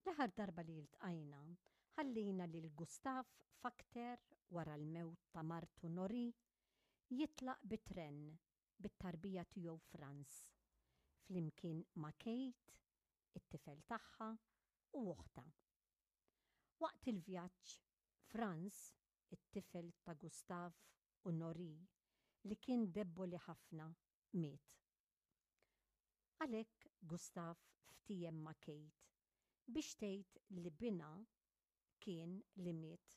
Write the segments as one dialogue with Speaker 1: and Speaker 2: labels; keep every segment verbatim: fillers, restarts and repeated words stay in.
Speaker 1: L-aħħar darba li ltqajna, ħallejna lil Gustav Fakter wara l-mewt ta' martu Nori jitlaq bit-tren bit-tarbija tiegħu Franz, flimkien ma' Kate, it-tifel tagħha u oħtha. Waqt il-vjaġġ, Franz, it-tifel ta' Gustav u Nori, li kien debboli ħafna, miet. Għalhekk Gustav ftiehem ma' Kate biex tgħid li binha kien li miet,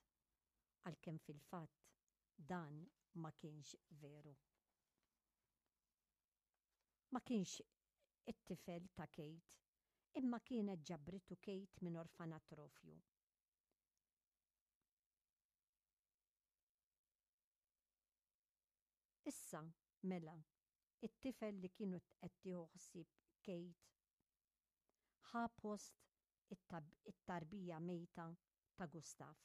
Speaker 1: għalkemm fil-fatt dan ma kienx veru. Ma kienx it-tifel ta' Kate, imma kienet ġabritu Kate minn orfanatrofju. Issa, mela, it-tifel li kienu qed tieħu ħsieb Kate ħa post it-tarbija mejta ta' Gustav.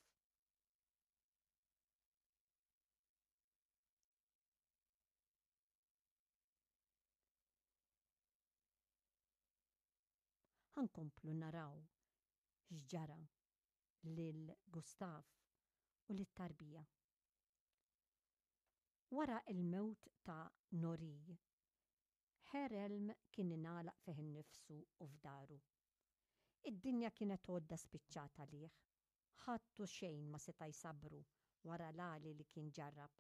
Speaker 1: Ħa nkomplu naraw x'ġara lil Gustav u lit-tarbija. Wara l-mewt ta' Nori, Herr Elm kien ingħalaq fih innifsu u f'daru. Id-dinja kienet għodda spiċċat għalih. Ħadd u xejn ma seta' jsabbru wara l-għali li kien ġarrab.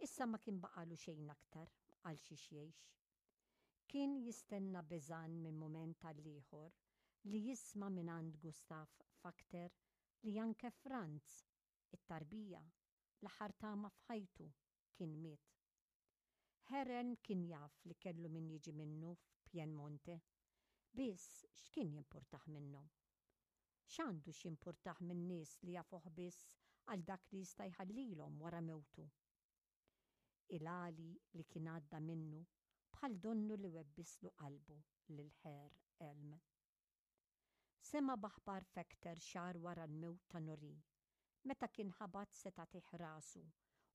Speaker 1: Issa ma kien baqagħlu xejn aktar għal xiex jgħix. Kien jistenna beżgħan minn mument għall-ieħor li jisma' mingħand Gustav Fakter li anke Franz, it-tarbija, l-aħħar tama f'ħajtu, kien miet. Herr Elm kien jaf li kellu min jiġi minnu f'Piemonte. Biss x'kien jimpurtah minnhom? X'għandu x'jimpurtah minn nies li jafuh biss għal dak li jista' jħallilhom wara mewtu? Il-għali li kien għadda minnu bħal donnu li webbislu qalbu lil Herr Elm. Sema' b'aħbar Fekter xahar wara l-mewt ta' Nori, meta kien ħabat se tagħtih rasu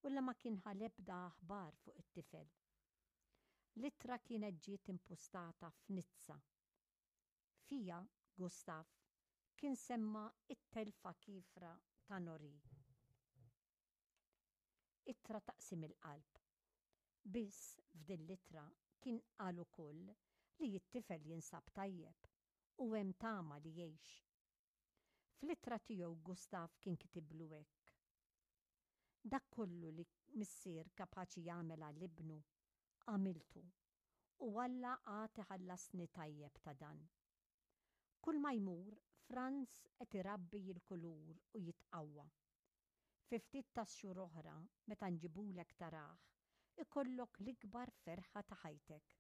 Speaker 1: u la ma kien ħa l-ebda aħbar fuq it-tifel. L-ittra kienet ġiet impustata f'Nizza. Fiha, Gustav kien semma t-telfa kiefra ta' Nori. Ittra taqsim il-qalb. Biss f'din l-ittra kien qal ukoll li t-tifel jinsab tajjeb u hemm tama li jgħix. Fl-ittra tiegħu Gustav kien kitiblu hekk, Dak kollu li missier kapaċi jagħmel għal ibnu, għamiltu, u Alla għad iħallasni tajjeb ta' dan. Kull ma jmur, Franz qed irabbi l-kulur u jitqawwa. Fi ftit tax-xhur oħra, meta nġibulek tarah, ikollok l-ikbar ferħa ta' ħajtek.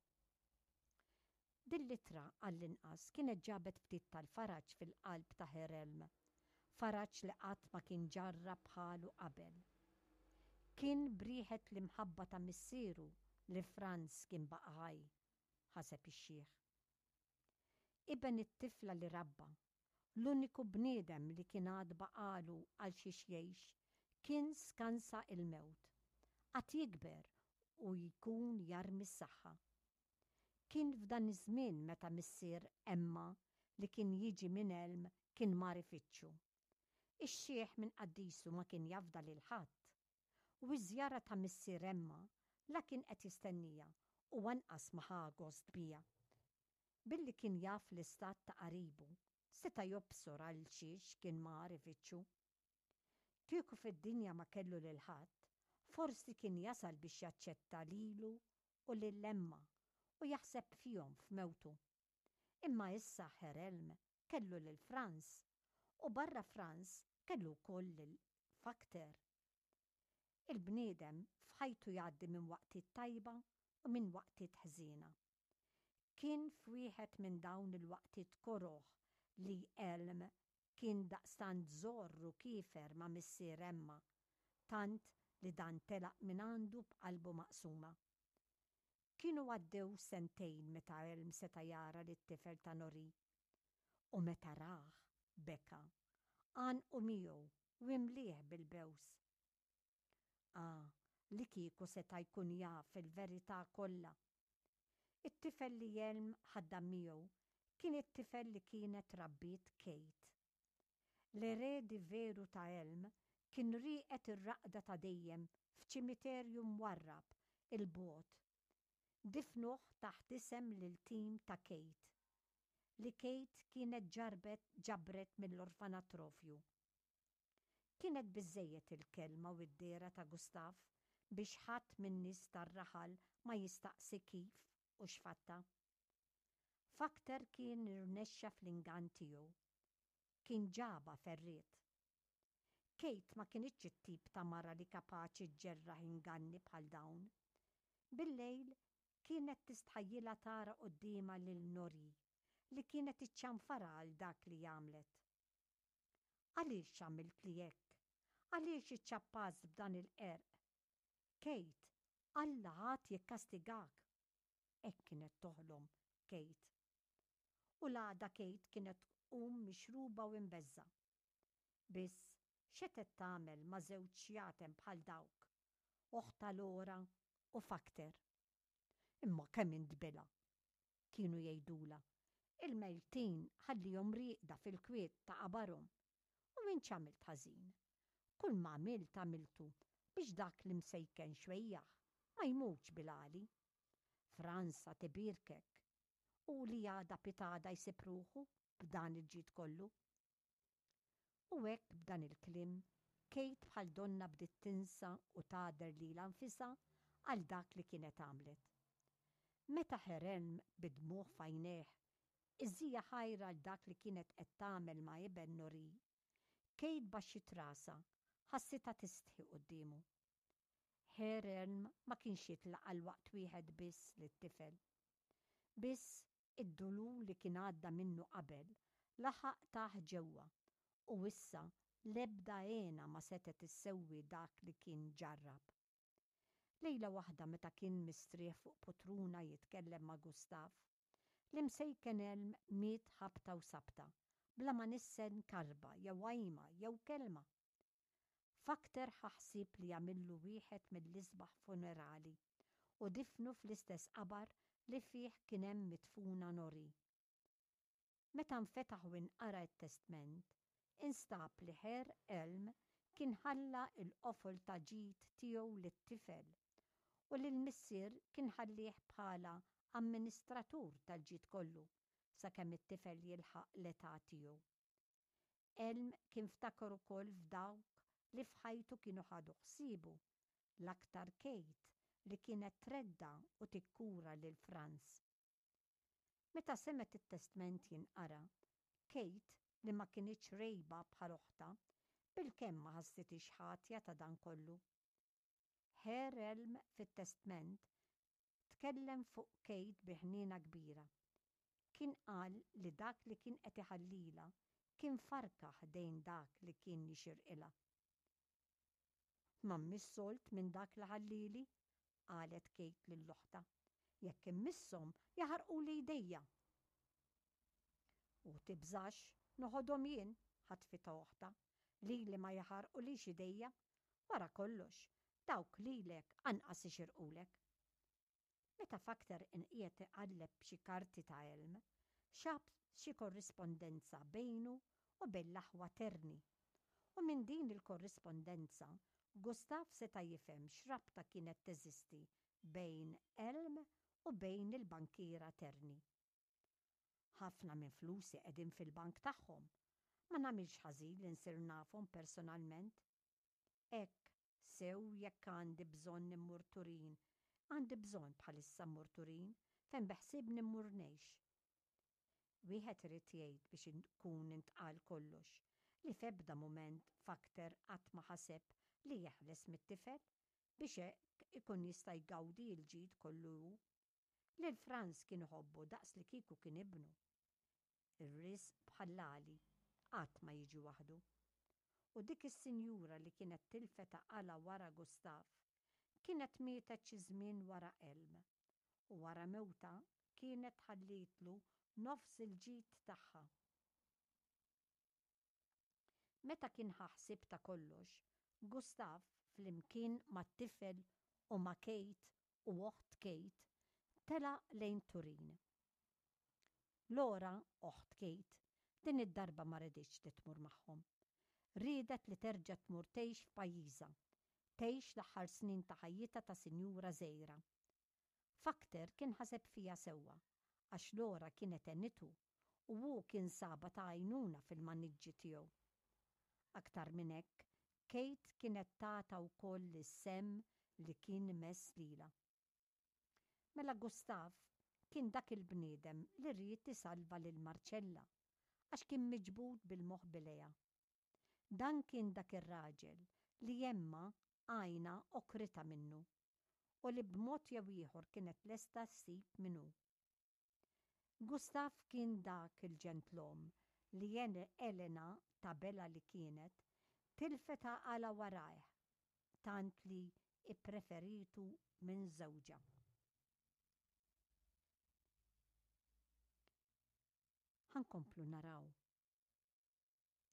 Speaker 1: Din l-ittra, għall-inqas, kienet ġabet ftit tal-faraġ fil-qalb ta' Herr Elm, faraġ li qatt ma kien ġarrab bħalu qabel. Kien b'riħet l-imħabba ta' missieru li Franz kien baqa' ħaj, ħaseb ix-xiħ. Iben it-tifla li rabba, l-uniku bniedem li kien għad baqagħlu għal xiex jgħix, kien skansa il-mewt. Għad jikber u jkun jarmi s-saħħa. Kien f'dan iż-żmien meta missier Emma li kien jiġi minn Elm kien mar ifittxu. Ix-xiħ minn qaddisu ma kien jafda lil ħadd. U ż-żjara ta' missier Emma la kien qed jistenniha u anqas ma ħa gost biha. Billi kien jaf l-istat ta' qaribu, seta' jobsor għal xiex kien mar ifittxu. Kieku fid-dinja ma kellu lil ħadd, forsi kien jasal biex jaċċetta lilu u lil Emma u jaħseb fihom f'mewtu. Imma issa Herr Elm kellu lil Franz u barra Franz kellu wkoll lil Fakter. Il-bniedem f'ħajtu jgħaddi minn waqtiet tajba u minn waqtiet ħżiena. Kien f'wieħed minn dawn il-waqtiet koroh li Elm kien daqstant żorr u kiefer ma' missier Emma, tant li dan telaq minn għandu b'qalbu maqsuma. Kienu għaddew sentejn meta Elm seta' jara lit-tifel ta' Nori. U meta rah, beka, għannqu miegħu u imlieh bil-bews. Ah, li kieku seta' jkun jaf il-verità kollha! It-tifel li Elm ħaddam miegħu Kien it-tifel li kienet rabbiet Kate. L-eredi veru ta' Elm kien rieqed ir-raqda ta' dejjem f'ċimiterju mwarrab 'il bogħod. Difnuh taħt isem l-iltim ta' Kate, li Kate kienet ġarbet ġabret mill-orfanatrofju. Kienet biżżejjed il-kelma u d-dehra ta' Gustav biex ħadd min-nies tar-raħal ma jistaqsi kif u x'fatta. Fakter kien irnexxa fl-ingann tiegħu. Kien ġabha ferriet. Kate ma kinitx it-tip ta' mara li kapaċi ġġerraħ inganni bħal dawn. Bil-lejl kienet tistħajjilha tara quddiemha lil Nori li kienet iċċanfara għal dak li għamlet. Għaliex għamiltli hekk? Għaliex iċċappast b'dan il-qerq? Kate, Alla għad jikkastigak. Hekk kienet toħlom Kate. U l-għada Kate kienet tqum mixruba u imbeżża'. Biss x'setgħet tagħmel ma' żewġ xjaten bħal dawk, oħtha Lora u Fakter. Imma kemm int bila, kienu jgħidulha. Il-mejtin ħallihom rieqda fil-kwiet ta' qabarhom. U int x'għamilt ħażin? Kull ma għamilt għamiltu biex dak l-imsejken xwejjaħ ma jmutx bil-għali. Franz għad ibierkek u li għada pitgħada jsib ruħu b'dan il-ġid kollu. U hekk b'dan il-kliem, Kate bħal donna bdiet tinsa u tagħder lilha nfisha għal dak li kienet għamlet. Meta Herr Elm bid-dmugħ f'għajnejh iżżija ħajra għal dak li kienet qed tagħmel ma' iben Nori, Kate baxxiet rasha, ħassitha tistħi quddiemu. Herr Elm ma kienx jitlaq għal waqt wieħed biss lit-tifel. Biss id-dulur li kien għadda minnu qabel laħaq tah ġewwa u issa l-ebda hena ma setgħet issewwi dak li kien ġarrab. Lejla waħda meta kien mistrieħ fuq potruna jitkellem ma' Gustav, l-imsejken Elm miet ħabta u sabta, bla ma nissen karba jew għajma jew kelma. Fakter ħa ħsieb li jagħmillu wieħed mill-isbaħ funerali u difnu fl-istess qabar li fih kien hemm midfuna Nori. Meta nfetaħ u inqara t-testment, instab li Herr Elm kien ħalla l-qofol ta' ġid tiegħu lit-tifel u li l-missier kien ħallih bħala amministratur tal-ġid kollu sakemm it-tifel jilħaq l-età tiegħu. Elm kien ftakar ukoll f'dawk li f'ħajtu kienu ħadu ħsiebu, l-aktar Kate li kienet tredda' u tikkura lil Franz. Meta semgħet it-testment jinqara, Kate, li ma kinitx rgħiba bħal oħtha, bilkemm ma ħassitix ħatja ta' dan kollu. Herr Elm fit-testment tkellem fuq Kate bi ħniena kbira. Kien qal li dak li kien qed iħallilha kien farka ħdejn dak li kien jixirqilha. Ma mmiss sold minn dak li ħallieli, qalet Kate lil oħtha. Jekk immisshom jaħarquli jdejja. U tibżax, noħodhom jien, ħatfitha oħtha, lili ma jaħarqulix idejja. Wara kollox, dawk lilek anqas ixirqulek. Meta Fakter inqiegħed iqalleb xi karti ta' Elm, xab xi korrispondenza bejnu u bejn l-aħwa Terni. U minn din il-korrispondenza, Gustav seta' jifhem x'rabta kienet teżisti bejn Elm u bejn il-bankiera Terni. Ħafna minn flusi qegħdin fil-bank tagħhom. Ma nagħmilx ħażin li nsir nafhom personalment. Hekk sew jekk għandi bżonn immur Turin, għandi bżonn bħalissa mmur Turin fejn beħsiebni mmur ngħix. Wieħed irid jgħid biex ikun intqal kollox li f'ebda mument Fakter qatt ma ħaseb li jeħles mit-tifel biex hekk ikun jista' jgawdi l-ġid kollu hu. Lil Franz kien iħobbu daqs li kieku kien ibnu. Ir-risq bħall-għali qatt ma jiġi waħdu. U dik is-sinjura li kienet tilfet għaqalha wara Gustav kienet mietet xi żmien wara Elm u wara mewtha kienet ħallietlu nofs il-ġid tagħha. Meta kien ħa ħsieb ta' kollox, Gustav flimkien mat-tifel u ma' Kate u oħt Kate telaq lejn Turin. Laura, oħt Kate, din id-darba ma riditx li tmur magħhom. Riedet li terġa' tmur tgħix f'pajjiżha, tgħix l-aħħar snin ta' ħajjitha ta' sinjura żgħira. Fakter kien ħaseb fiha sewwa, għax Laura kienet għenitu u hu kien sabha ta' għajnuna fil-maniġġi tiegħu. Aktar minn hekk, Kate kienet tatha wkoll is-sehem li kien mess lilha. Mela Gustav kien dak il-bniedem li ried isalva lil Marcella għax kien miġbud bil-moħbi lejha. Dan kien dak ir-raġel li Emma għajnha għokrita minnu u li b'mod jew ieħor kienet lesta ssib min hu. Gustav kien dak il-ġentlom li Elena ta' bela li kienet tilfet għaqalha warajh tant li ippreferitu minn żewġha. Ħa nkomplu naraw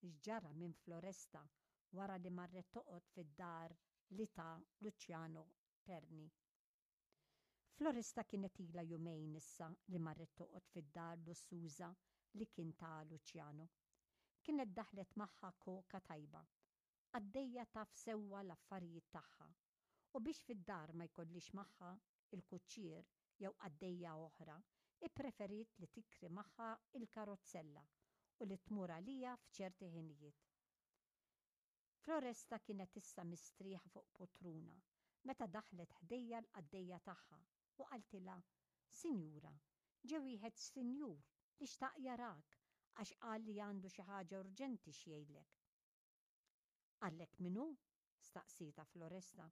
Speaker 1: x'ġara minn Floresta wara li marret toqgħod fid-dar li ta Luciano Terni. Floresta kienet ilha jumejn issa li marret toqgħod fid-dar lussuża li kien ta Luciano. Kienet daħlet magħha koka tajba, qaddejja taf sewwa l-affarijiet tagħha, u biex fid-dar ma jkollhiex magħha il-kuċċier jew qaddejja oħra, ippreferiet li tikri magħha l-karozzella u li tmur għaliha f'ċerti ħinijiet. Floresta kienet issa mistrieħa fuq poltruna meta daħlet ħdejha l-qaddejja tagħha u qaltilha, Sinjura, ġie wieħed sinjur li xtaq jarak għax qal li għandu xi ħaġa urġenti x'jgħidlek. Qallek min hu? staqsietha Floresta.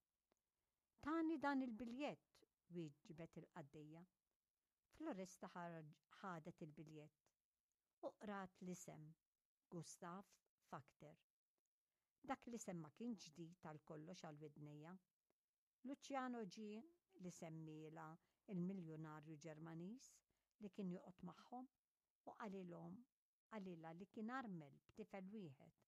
Speaker 1: Tani dan il-biljett, wieġbet il-qaddejja. Floresta ħadet il-biljett u qrat l-isem Gustav Fakter. Dak l-isem ma kienx ġdid għal kollox għal widnejha. Luciano ġie li semmielha il-miljunarju Ġermaniż li kien joqgħod magħhom u qalilhom qalilha li kien armel b'tifel wieħed.